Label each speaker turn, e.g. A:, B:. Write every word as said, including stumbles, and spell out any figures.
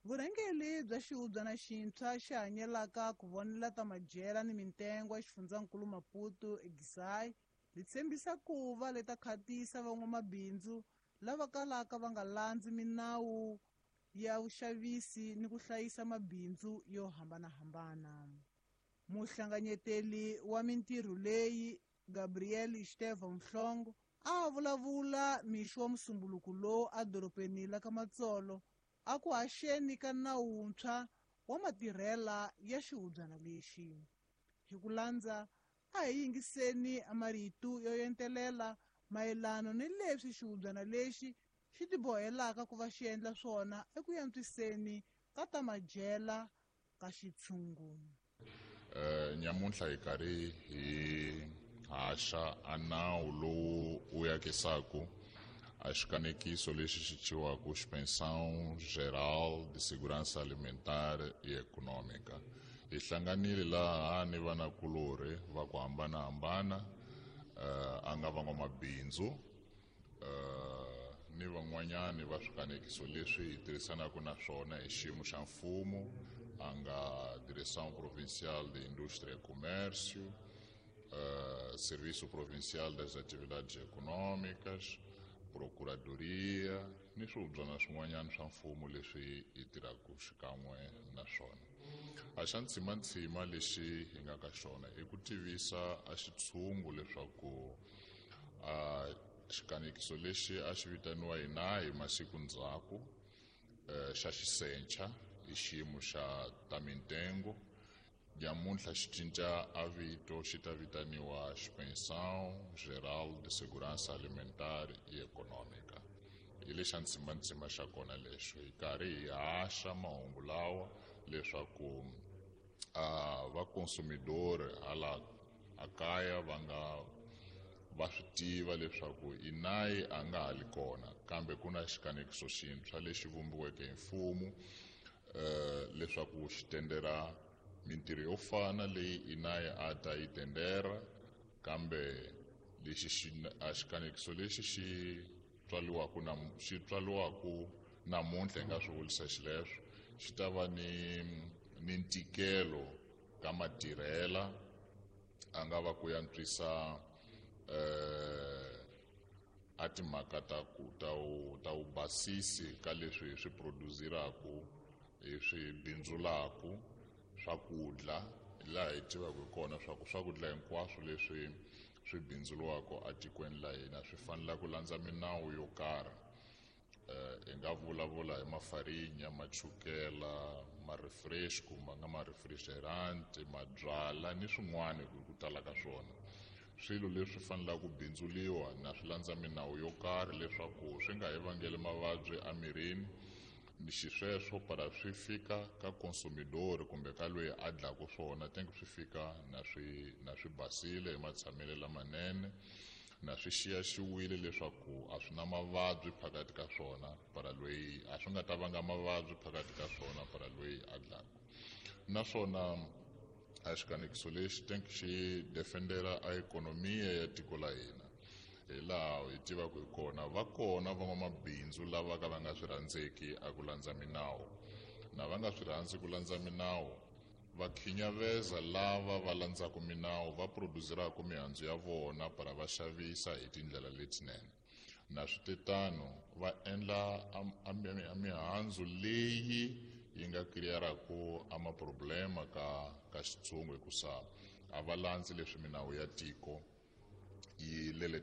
A: Vurhangeri bya xihubyana xintshwa xi hanyelaka ku vonela ta madyela ni mitengo ya xifundzankulu Maputo eGisai li tshembisa ku va leta khatisa van'wamabindzu lava kalaka va nga landzi minawu ya vuxavisi ni ku hlayisa mabindzu yo hambanahambana. Muhlanganyeteli wa mintirho leyi Gabriel Estevam Mhlongo a vulavula mixo wa musumbuluko lowu edorobeni la ka Matsolo a ku haxeni ka nawu wuntshwa wa matirhela ya xihubyana lexi. Hi ku landza a hi yingiseni marito yo entelela mayelana ni leswi xihubyana lexi xi tibohelaka ku va xi endla swona eku antswiseni ka ta madyela ka xitshungu.
B: Uh, nyamuntlha hi karhi hi haxa a nawu lowu wu yakisaku a xikanekiso lexi xi thyiwaku Inspeção Geral de Segurança Alimentar e Econômica. Hi hlanganile laha ni vanakulorhi va ku hambanahambana, uh, a nga van'wamabindzu, uh, ni van'wanyani va swikanekiso leswi hi tirhisanaka na swona hi xiyimo xa mfumo, a nga Direção Provincial de Indústria e Comércio, uh, Serviço Provincial das Atividades Econômicas, Procuradoria ni swihubyana swin'wanyana swa mfumo leswi hi tirhaka xikan'we na swona. A xa ntsimantsima lexi hi nga ka xona i ku tivisa a xitshungu leswaku a xikanekiso lexi a xi vitaniwa hina hi masiku ndzhaku, eh, xa xisencha i xiyimo xa ta mintengo. Nyamuntlha xi cinca a vito, xi ta vitaniwa Inspeção Geral de Segurança Alimentar e Econômica. Hi lexa ntsimantsima xa kona lexo, hi karhi hi haxa mahungu lawa leswaku a va consumidor hala a kaya va nga va swi tiva leswaku inayi a nga ha li kona, kambe ku na xikanekiso xintshwa lexi vumbiweke hi mfumo, eh, leswaku xi tendera mintirho yo fana leyi inayi a ta yi tendera, kambe lexi xi a xikanekiso lexi xi tswaliwaku na xi tswaliwaku namuntlha hi nga swi vurisa xileswo, xi ta va ni ni ntikelo ka matirhela, a nga va ku antswisa, eh, a timhaka ta ku ta u ta u basisi ka leswi hi swi produziraku, hi swi bindzulaku swakudya. Laha hi tivaka hi kona swa ku swakudya hinkwaswo leswi swi bindzuriwaka etikweni la hina swi fanele ku landza minawu yo karhi. Eh, hi nga vulavula hi mafarinya, machukela, ma-refresco, ma nga ma-refrigerant, mabyala ni swin'wana hi ku tala ka swona. Swilo leswi fanelaka ku bindzuriwa na swi landza minawu yo karhi leswaku swi nga hi vangeli mavabyi emirini, ni xisweswo para swi fika ka consumidor kumbe ka loyi a dlaku swona, tenke swi fika na swi na swi basile hi matshamelo lamanene, na swi xiyaxiwile leswaku a swi na mavabyi phakathi ka swona, para loyi a swi nga ta vanga mavabyi phakathi ka swona para loyi a dlaku. Naswona a xikanekiso lexi tenke xi defendera a ikhonomiya ya tiko la hina. Hi laha hi tivaka hi kona, va kona van'wamabindzu lava ka va nga swi rhandzeki a ku landza minawu, na va nga swi rhandzi ku landza minawu va khinyaveza lava va landzaka minawu, va produziraka mihandzu ya vona para va xavisa hi tindlela letinene. Na switetano va endla a, a, a mihandzu leyi yi nga kiriyaraku a maproblema ka, ka xitshungu, hikusa a va landzi leswi minawu ya tiko yi lele.